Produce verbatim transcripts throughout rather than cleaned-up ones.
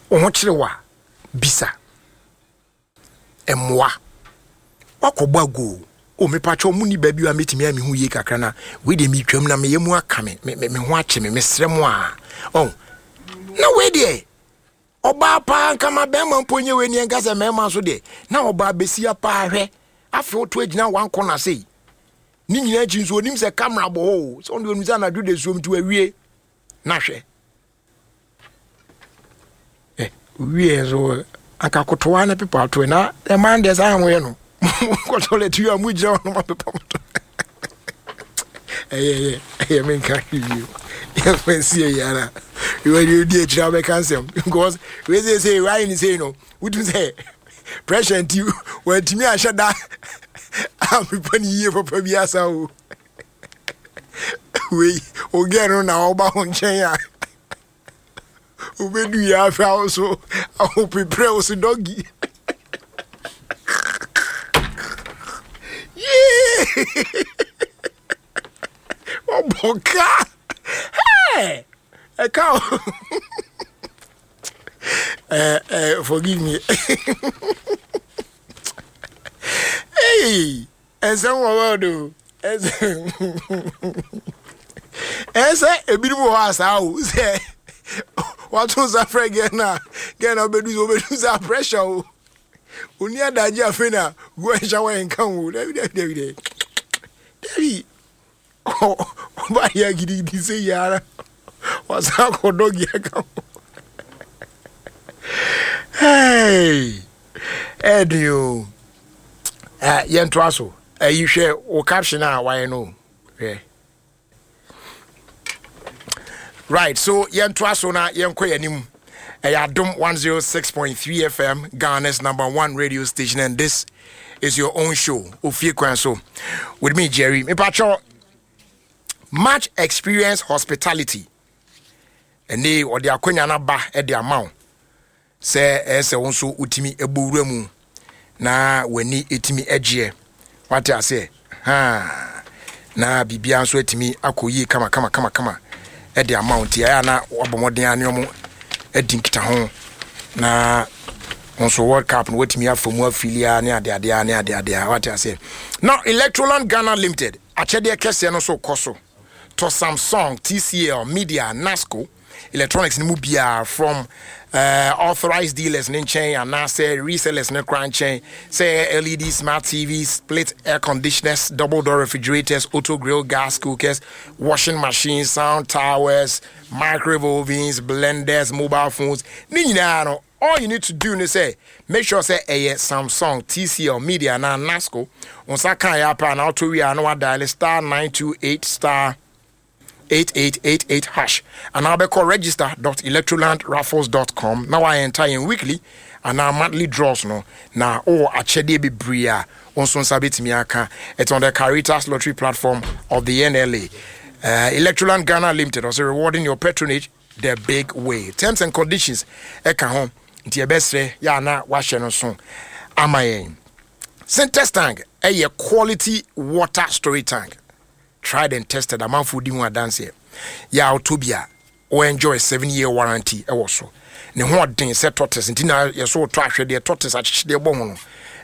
Wo ho kyerɛ wo a, bisa mmoa. Wakɔbɔ ago o, mepakyɛ mu ni baabi a mɛtumi a mehu yie kakra na wei deɛ metwam na meyɛ mu aka me me me ho akye me, mesrɛ mo a ɔn na wei deɛ ɔbaa paa nkama bɛrima mpo nyɛ wei neɛ nka sɛ mmarima nso deɛ na ɔbaa bɛsia paa. Hwɛ, afei woto agyina wankɔ na sei ne nyinaa akyi nso onim sɛ camera bɔ hɔ o, sɛ ɔno deɛ onim sɛ anadwo de suom nti wawie. Na hwɛ ɛ wie nso anka kotoa ne pepa ato na ɛman deɛ saa ahoyɛ no kɔ toilet yi a mo gyina hɔ no ma pepa mo to. Ɛyɛ ɛyɛ ɛyɛ menka hwee bio, yɛmfa nsi ɛyɛ ara ìwé di akyire abɛka nsɛm because wei sɛ sɛ wayɛ ne sei no, wotum sɛ pressure nti wantumi ahyɛ da a mepa ne yie papa bi asa o. Wei ogɛ no na ɔba ho nkyɛn a wobɛdu yɛ afɛ awo so ahopeprɛ wo so doggy. Yee, ɔbɔ ka ɛka o. eh, eh, forgive me. Hey, ɛnsɛm wɔ world o. Ɛsɛ ebinom wɔ hɔ asaa o, sɛ wato nsa frɛ gɛ na gɛ na wobɛdu sɛ wobɛdu sɛ pressure o, oni adagye. Afei na go and shower nka o. Dabi, dabi, dabi, dabi, dabi, ɔba yɛ gidigidi sɛ yi ara wasan akɔ doggy aka ho. Hey, ɛɛdin o. Ɛ yɛntoa so. Ɛyi, hwɛ wo caption a wayɛ no, hwɛ. Right, so yɛntoa so na yɛnkɔ yɛn anim. Ɛyɛ Adom one oh six point three F M, Ghana's number one radio station, and this is your own show, Ofie Kwan So, with me, Jerry. Mepakyɛw, Match Experience Hospitality ɛne ɔde akonnwa no aba de ama wo sɛ ɛyɛ sɛ wo nso wotumi bɔ wura mu na w'ani ɛtumi agyeɛ, wate aseɛ ha, na biribiara nso atumi akɔ yie kama kama kama kama ɛde ama wo. Nti ɛyɛ a na wabɔ mmɔden a ne ɔmo adi nkitaho na nso World Cup no watumi afa mu afilia ne adeadeɛ ne adeadeɛ, wate aseɛ. Now, Electroland Ghana Limited akyɛdeɛ kɛseɛ no nso kɔ so. Tɔ Samsung, T C L, Media, Nasco electronics no mu biara from uh, authorized dealers ne nkyɛn anaasɛ resellers ne kora nkyɛn, sɛ L E D smart T Vs, split air conditioners, double door refrigerators, auto grill, gas cookers, washing machines, sound towers, microwave ovens, blenders, mobile phones ne nyinaa no, all you need to do ne sɛ make sure sɛ ɛyɛ Samsung, T C L, Media na Nasco nsa kan yɛ apɛ a na auto wie a na wadial star nine two eight star eight eight eight eight hash anaa wobɛkɔ register dot electrolandraffles dot com na woayɛnta yɛn weekly anaa monthly draws no na wowɔ akyɛdeɛ bebree a wo nso nsa bɛtumi aka. It's on the Caritas Lottery platform of the N L A. uh, electroland Ghana Limited also rewarding your patronage the big way. Terms and conditions ɛka ho, nti yɛbɛsrɛ yɛ ana wahyɛ no so ama yɛn. Sintex tank ɛyɛ quality water storage tank, tried and tested. Amanfoɔ di ho adanseɛ yɛ a wotɔ bi a wo enjoy seven year warranty ɛwɔ so. Ne ho ɔden sɛ tortoise, nti na yɛso wotɔ ahwɛdeɛ tortoise akyekyedeɛ bɔ ho no,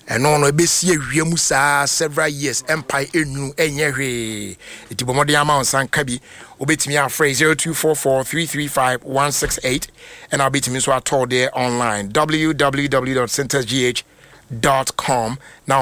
ɛno no ɛbɛsi awia mu saa several years, ɛmpae, ɛnwunu, ɛnyɛ hwee. Ɛti bɔ mmɔden ama wo nsa nka bi. Wobɛtumi afrɛ zero two four four three three five one six eight, ɛna wobɛtumi nso atɔ deɛ online, w w w dot syntexgh dot com, na wo